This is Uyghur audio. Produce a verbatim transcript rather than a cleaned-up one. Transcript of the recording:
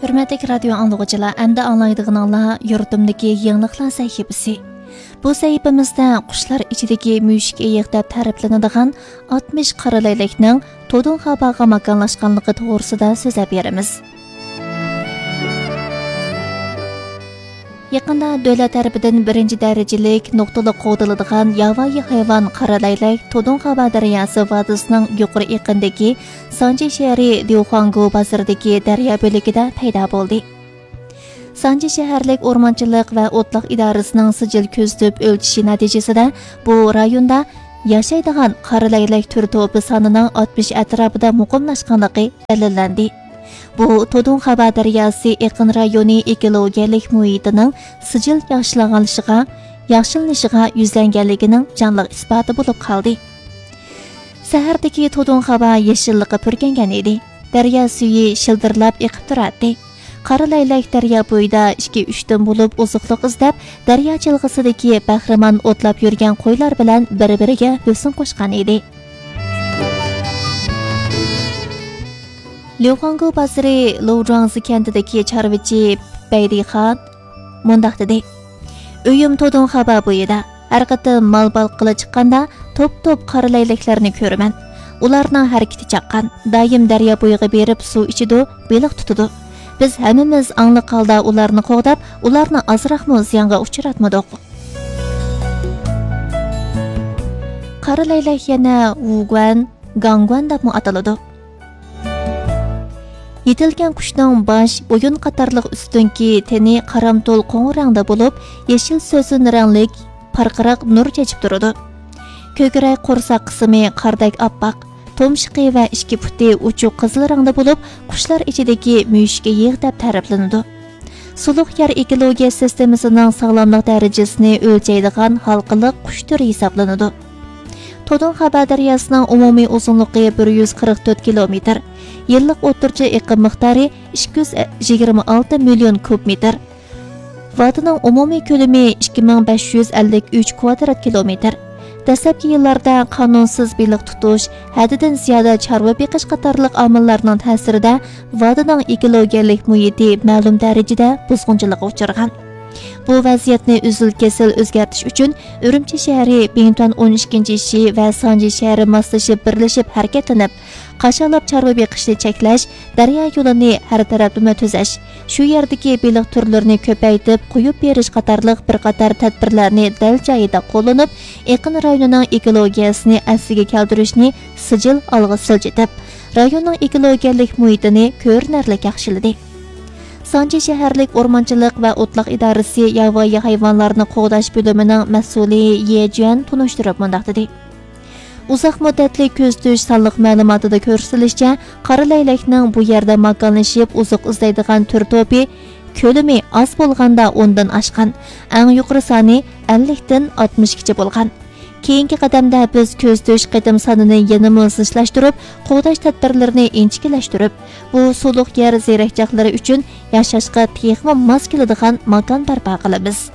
ھۆرمەتلىك رادىيو ئاڭلىغۇچىلار، ئەمدى ئاڭلايدىغىنىڭلار يۇرتۇمدىكى يېڭىلىقلار سەھىپىسى. بۇ سەھىپىمىزدە قۇشلار ئىچىدىكى مۈشۈك ئېيىق دەپ تەرىپلىنىدىغان ئاتمىش قارا لەيلەكنىڭ تودۇن خاباغا ماكانلاشقانلىقى توغرىسىدا سۆزلەپ بېرىمىز. يېقىندا دۆلەت تەرىپىدىن بىرىنچى دەرىجىلىك نۇقتىلىق قوغدىلىدىغان ياۋايى ھايۋان قارا لەيلەك تودۇن خابا دەرياسى ۋادىسىنىڭ يۇقىرى ئېقىندىكى سانجى شەھىرى ديۇخۇاڭگو بازىرىدىكى دەريا بۆلىكىدە پەيدا بولدى. سانجى شەھەرلىك ئورمانچىلىق ۋە ئوتلاق ئىدارىسىنىڭ سىجىل كۆزىتىپ ئۆلچىشى نەتىجىسىدە، بۇ رايوندا ياشايدىغان قارا لەيلەك تۈر توپى سانىنىڭ ئاتمىش ئەتراپىدا مۇقىملاشقانلىقى دەلىللەندى. بۇ تودۇن خابا دەرياسى ئېقىن رايونى ئېكولوگىيەلىك مۇھىتىنىڭ سىجىل ياخشىلانغانلىشىغا، ياخشىلىنىشىغا يۈزلەنگەنلىكىنىڭ جانلىق ئىسپاتى بولۇپ قالدى. سەھەردىكى تودۇن خابا يېشىللىققا پۈركەنگەن ئىدى. دەريا سۈيى شىلدىرلاپ ئېقىپ تۇراتتى. قارا لەيلەك دەريا بويىدا ئىككى-ئۈچتىن بولۇپ ئوزۇقلۇق ئىزدەپ، دەريا جىلغىسىدىكى بەھرىمەن ئوتلاپ يۈرگەن قويلار بىلەن بىر-بىرىگە ھۆسن قوشقان ئىدى. ليۇخاڭگو بازىرى لوۋجۇاڭزى كەنتىدىكى چارۋىچى بەيدىخان مۇنداق دېدى: «ئۆيۈم تودۇن خابا بويىدا. ھەر قېتىم مال باققىلى چىققاندا، توپ-توپ قارا لەيلەكلەرنى كۆرىمەن. ئۇلارنىڭ ھەرىكىتى چاققان، دائىم دەريا بويىغا بېرىپ سۇ ئىچىدۇ، بېلىق تۇتىدۇ. بىز ھەممىمىز ئاڭلىق ھالدا ئۇلارنى قوغداپ، ئۇلارنى ئازراقمۇ زىيانغا ئۇچراتمىدۇق.» قارا لەيلەك يەنە ۋۇگۇەن، گاڭگۇەن دەپمۇ ئاتىلىدۇ. يېتىلگەن قۇشنىڭ باش، بويۇن قاتارلىق ئۈستۈنكى تېنى قارامتۇل قوڭۇر رەڭدە بولۇپ، يېشىل سۆسۈن رەڭلىك پارقىراق نۇر چېچىپ تۇرىدۇ. كۆكرەك، قورساق قىسمى قاردەك ئاپئاق، تۇمشۇقى ۋە ئىككى پۇتى ئوچۇق قىزىل رەڭدە بولۇپ، قۇشلار ئىچىدىكى مۈشۈك ئېيىق دەپ تەرىپلىنىدۇ. سۇلۇق يەر ئېكولوگىيە سىستېمىسىنىڭ ساغلاملىق دەرىجىسىنى ئۆلچەيدىغان ھالقىلىق قۇش تۈرى ھېسابلىنىدۇ. تودۇن خابا دەرياسىنىڭ ئومۇمىي ئۇزۇنلۇقى بىر يۈز قىرىق تۆت كىلومېتىر، يىللىق ئوتتۇرىچە ئېقىم مىقدارى ئىككى يۈز يىگىرمە ئالتە مىليون كۇب مېتىر. ۋادىنىڭ ئومۇمىي كۆلىمى ئىككى مىڭ بەش يۈز ئەللىك ئۈچ كۋادرات كىلومېتىر. دەسلەپكى يىللاردا قانۇنسىز بېلىق تۇتۇش، ھەددىدىن زىيادە چارۋا بېقىش قاتارلىق ئامىللارنىڭ تەسىرىدە ۋادىنىڭ ئېكولوگىيەلىك مۇھىتى مەلۇم دەرىجىدە بۇزغۇنچىلىققا ئۇچرىغان. بۇ ۋەزىيەتنى ئۈزۈل-كېسىل ئۆزگەرتىش ئۈچۈن ئۈرۈمچى شەھىرى بىڭتۈەن ئون ئىككىنچى شى ۋە سانجى شەھىرى ماسلىشىپ بىرلىشىپ ھەرىكەتلىنىپ، قاشالاپ چارۋا بېقىشنى چەكلەش، دەريا يولىنى ھەر تەرەپلىمە تۈزەش، شۇ يەردىكى بېلىق تۈرلىرىنى كۆپەيتىپ قويۇپ بېرىش قاتارلىق بىر قاتار تەدبىرلەرنى دەل جايىدا قوللىنىپ، ئېقىن رايونىنىڭ ئېكولوگىيەسىنى ئەسلىگە كەلتۈرۈشنى سىجىل ئالغا سىلجىتىپ، رايوننىڭ ئېكولوگىيەلىك مۇھىتىنى كۆرۈنەرلىك ياخشىلىدى. سانجى شەھەرلىك ئورمانچىلىق ۋە ئوتلاق ئىدارىسى ياۋايى ھايۋانلارنى قوغداش بۆلۈمىنىڭ مەسئۇلى يې جۈەن تونۇشتۇرۇپ مۇنداق دېدى: ئۇزاق مۇددەتلىك كۆزىتىش سانلىق مەلۇماتىدا كۆرسىتىلىشىچە، قارا لەيلەكنىڭ بۇ يەردە ماكانلىشىپ ئوزۇق ئىزدەيدىغان تۈر توپى كۆلىمى ئاز بولغاندا ئوندىن ئاشقان، ئەڭ يۇقىرى سانى ئەللىكتىن ئاتمىشقىچە بولغان. كېيىنكى قەدەمدە بىز كۆزىتىش قېتىم سانىنى يەنىمۇ زىچلاشتۇرۇپ، قوغداش تەدبىرلىرىنى ئىنچىكىلەشتۈرۈپ، بۇ سۇلۇق يەر زېرەكچاقلىرى ئۈچۈن ياشاشقا تېخىمۇ ماس كېلىدىغان ماكان بەرپا قىلىمىز.